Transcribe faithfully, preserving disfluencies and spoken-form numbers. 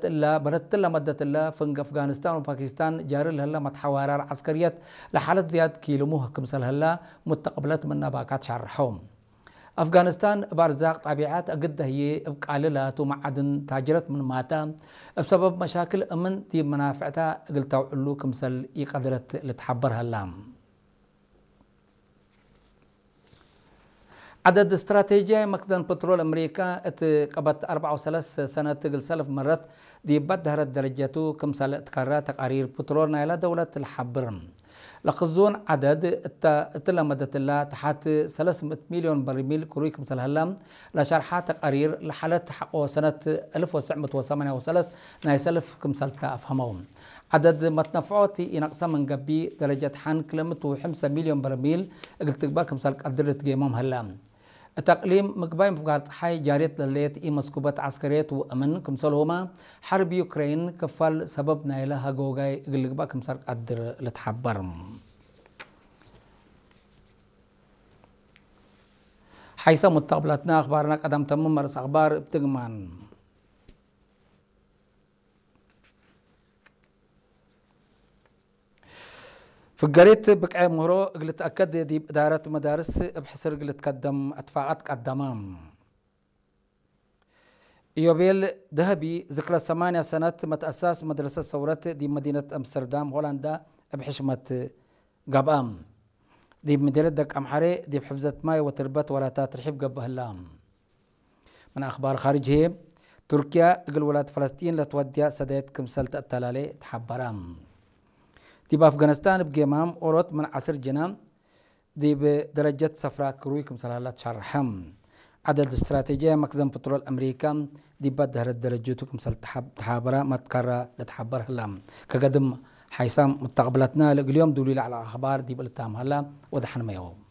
እለ በለትለ መደትለ፣ ፍንግ አፍጋኒስታን ወፓኪስታን ጃሪ ለህለ መትሐዋራር ዐስከርየት ለሓለት ዝያድ ኪልሙህ ክምሰል ህለ፣ ሙተቅብለት ምን ነባካት ሻርሐው። አፍጋኒስታን እብ አርዛቅ ጣቢዐት አግደ ህዬ እብ ቃልላት ወመዓድን ታጅረት ምንማተ፣ እብ ሰበብ መሻክል እምን ዲብ መናፍዕታ እግል ተውዕሉ ክምሰል ኢቀድረት ልትሐበር ሀላ። ዐደድ እስትራቴጂያይ መክዘን ፕትሮል አምሪካ እት ቀበት አርበዕ ወሰለስ ሰነት እግል ሰልፍ መረት ዲብ በደህረት ደረጀቱ ክምሰል እትከረ ተቃሪር ፕትሮል ናይለ ደውለት ለሐብር። ለክዙን ዐደድ እተ እትለ መደትላ ተሓት ሰለስ ምእት ሚልዮን በርሚል ክሩይ ክምሰል ሀለ ለሸርሐ ተቃሪር ለሓለት ሐቆ ሰነት አልፍ ወትሰዕ ምእት ወሰማንያ ወሰለስ ናይ ሰልፍ ክምሰልተ አፍሀመው። ዐደድ መትነፍዖት ኢነቅሰ ምን ገብእ፣ ደረጀት ሐን ክልምት ወሐምሰ ሚልዮን በርሚል እግል ትግበእ ክምሰል ቀድር ልትጌመም ሀለ። እት አቅሊም ምግባይ ምፍጋር ጸሓይ ጃርየት ለህሌት ኢመስኩበት ዐስከርየት ወእምን ክምሰልሁመ፣ ሐርብ ዩክሬን ክፋል ሰበብ ናይለ ሀጎጋይ እግል ልግበእ ክምሰል ቀድር ልትሐበር። ሐይሰ ሙተቅብላትና አኽባርና ቀደም ተምም መርስ አኽባር እብ ትግማን። ፍገሪት ብቅዕ ምህሮ እግል ልትአከድ ዲብ እዳረት መዳርስ እብ ሕስር እግል ልትከደም እትፋቀት ቀደመ። ኢዮቤል ደሀቢ ዝክረ ሰማንያ ሰነት መትአሳስ መድረሰት ሰውረት ዲብ መዲነት አምስተርዳም ሆላንዳ እብ ሕሽመት ገብአ። ዲብ ምዴርየት ደቅ አምሐሬ ዲብ ሕፍዘት ማይ ወትርበት ወላታ ትርሒብ ገብእ ህላ። ምን አኽባር ካርጅ ህዬ፣ ቱርክያ እግል ውላድ ፈለስጢን ለትወድያ ሰዳየት ክምሰል ተአተላሌ ተሐበረ። ዲብ አፍጋኒስታን እብ ጌማም ኦሮት ምን ዐስር ጅና ዲብ ደረጀት ሰፍራ ክሩይ ክምሰል ሀላ ተሸርሐ። ዐደድ እስትራቴጂያይ መክዘን ፕትሮል አምሪካ ዲብ በደህረት ደረጀቱ ክምሰል ተሓብ-፣ ተሓበረ መትከረ ለተሐበር ህላ። ከገድም ሓይሳም ሙተቅብለትና ለእግል ዮም ዱሊ ለዐለ አኽባር ዲብ ልታም ሀላ። ወደሐንመ ዮም።